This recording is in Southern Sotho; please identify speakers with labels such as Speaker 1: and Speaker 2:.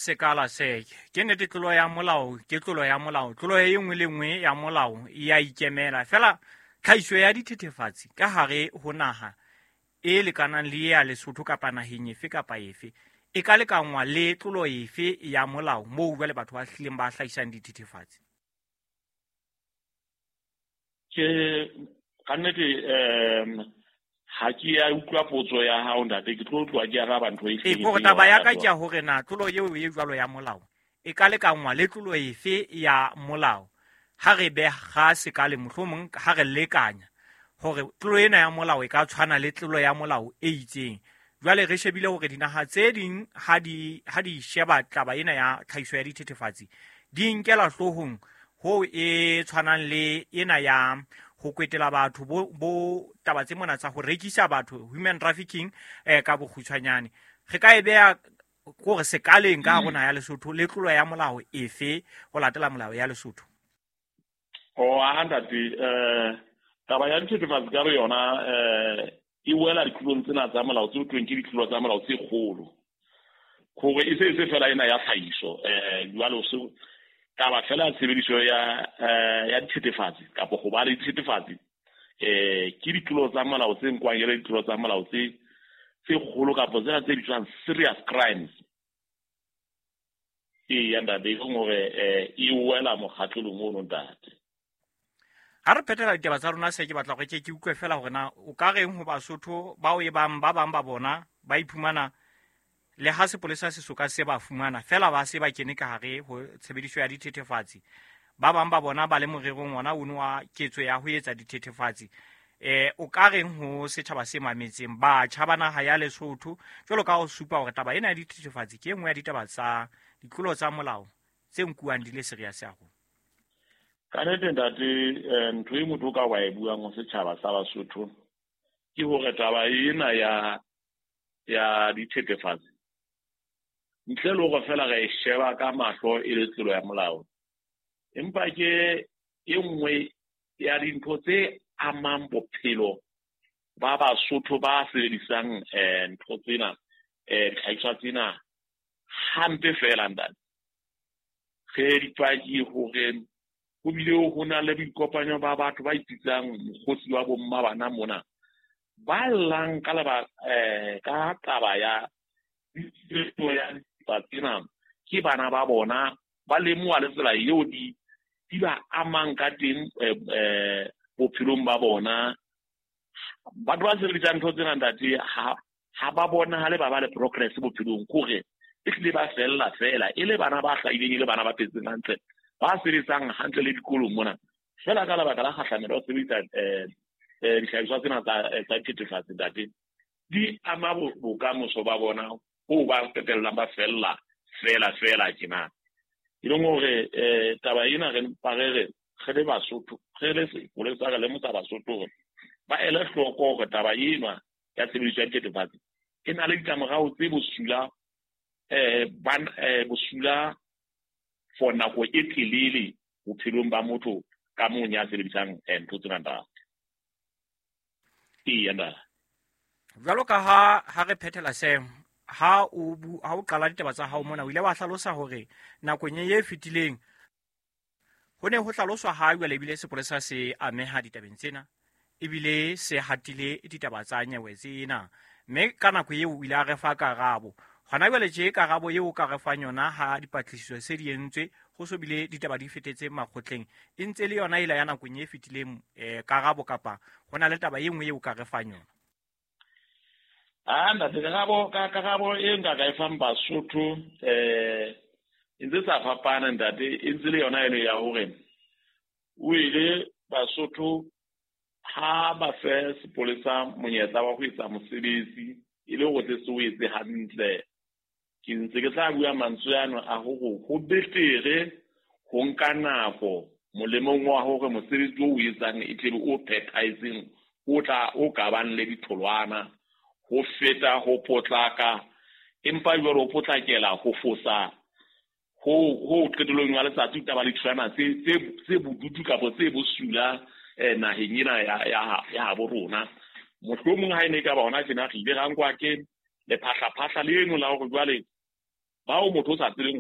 Speaker 1: Sekala se ke nnete, tlolo ya molao ke tlolo ya molao, tlolo e nngwe le nngwe ya molao e a ikemela. Fela tlhahiso ya dithethefatsi ka hare ho naha e lekanang le ya Lesotho kapa naheng efe kapa efe e ka lekanngwa le tlolo efe ya molao moo jwale batho ba hlileng ba hlahisang dithethefatsi?
Speaker 2: Ke ka nnete ha ke ya utlwa potso ya hao, ntate, ke tlo tloha ke araba ntho e.
Speaker 1: Ee, kore taba ya ka ke ya hore na tlolo eo e jwalo ya molao e ka lekanngwa le tlolo efe ya molao ha re beha sekale, mohlomong ha re lekanya hore tlolo ena ya molao e ka tshwana le tlolo ya molao e itseng. Jwale re shebile hore dinaha tse ding ha di sheba taba ena ya tlhahiso ya dithethefatsi, di nkela hloohong ho e tshwanang le ena ya ho kwetela batho bo taba tse mona tsa ho rekisa batho, human trafficking ka bokgutshwanyane. Re ka e beha kore sekaleng ka hare naha ya Lesotho le tlolo ya molao efe ho latela molao ya Lesotho?
Speaker 2: O a ntate, taba ya dithethefatsi ka yona e wela ditlolong tsena tsa molao tse thweng ke ditlolo tsa molao tse kgolo, hore e se fela ena ya tlhahiso. Jwalo se taba fela ya tshebediso ya dithethefatsi kapa ho ba le dithethefatsi ke ditlolo tsa molao tse nkwang e le ditlolo tsa molao tse kgolo kapa tsena tse bitswang serious crimes. Ee ntate, e leng hore e wela mokgatlelong ono, ntate.
Speaker 1: Ha re phethela ditaba tsa rona, se ke batla hore ke utlwe fela hore na o ka reng ho Basotho bao e bang ba bang ba bona ba iphumana le ha sepolesa se soka se ba fumana, fela ba se ba kene ka hare ho tshebediso ya dithethefatsi, ba bang ba bona ba le morerong ona ono wa ketso ya ho etsa dithethefatsi. O ka reng ho setjhaba se mametseng, batjha ba naha ya Lesotho, jwalo ka ho supa hore taba ena ya dithethefatsi ke e nngwe ya ditaba tsa ditlolo tsa molao tse nkuwang di le serious haholo?
Speaker 2: Ka nnete ntate, ntho e motho o ka wa e buang ho setjhaba sa Basotho ke hore taba ena ya dithethefatsi, ntle le hore fela re e sheba ka mahlo e le tlolo ya molao, empa ke e nngwe ya dintho tse amang bophelo ba Basotho ba sebedisang ntho tsena, dihlahiswa tsena hampe fela, ntate. Re dipaki hore ho bile ho na le boikopanyo ba batho ba ipitsang mokgosi wa bomma bana mona, ba llang ka leba ka taba ya ya tsena ke bana ba bona, ba lemoha le tsela eo di ba amang ka teng bophelong ba bona. Batho ba sebedisang ntho tsena, ntate, ha ba bonahale ba ba le progress bophelong, kore e hlile ba fella fela e le bana ba hlahileng, e le bana ba phetseng hantle, ba sebetsang hantle le dikolong mona, fela ka lebaka la kgahlamelo ya ho sebedisa dihlahiswa tsena tsa dithethefatsi, ntate, di ama bokamoso ba bona ho ba qetellang ba fella fela fela tjena. E leng hore taba ena re mpa re re re le Basotho, re le sepolesa, re lemosa Basotho hore ba ele hloko hore taba ena ya tshebediso ya dithethefatsi e na le ditlamorao tse bosula, bosula for nako e telele bophelong ba motho ka mong ya sebedisang ntho tsena, ntate. Eya ntate.
Speaker 1: Jwalo ka ha re phethela se, ha o qala ditaba tsa hao mona, o ile wa hlalosa hore nakong e fetileng ho ne ho hlaloswa ha jwale ebile sepolesa se ameha ditabeng tsena, ebile se hatile ditaba tsa nyewe tsena, mme ka nako eo o ile a re fa karabo. Hona jwale tje karabo eo o ka re fang yona ha dipatlisiso se di entswe, ho so bile ditaba di fetetse makgotleng, e ntse le yona ela ya nakong e fetileng karabo, kapa ho na le taba e nngwe eo o ka re fang yona?
Speaker 2: Ah ntate, karabo e nka ka e fang Basotho e ntse sa fapana, ntate, e ntse le yona eno ya hore o ile Basotho ha ba fe sepolesa monyetla wa ho etsa mosebetsi e le hore tle se o etse hantle. Ke ntse ke tla bua mantswe ano a hore ho betere ho nka nako molemong wa hore mosebetsi o etsang e tlebe o phethahetseng, o tla o ka bang le ditholwana, ho feta ho potlaka, empa jwale ho potlakela ho fosa ho qetellong ya letsatsi o tla ba le ditholwana tse bodutu kapa tse bosula naheng ena ya habo rona. Mohlomong ha e ne e ka ba hona tjena re ile ra nkwa ke lephahlaphahla leno la hore jwale Bao motho o sa tsebeng.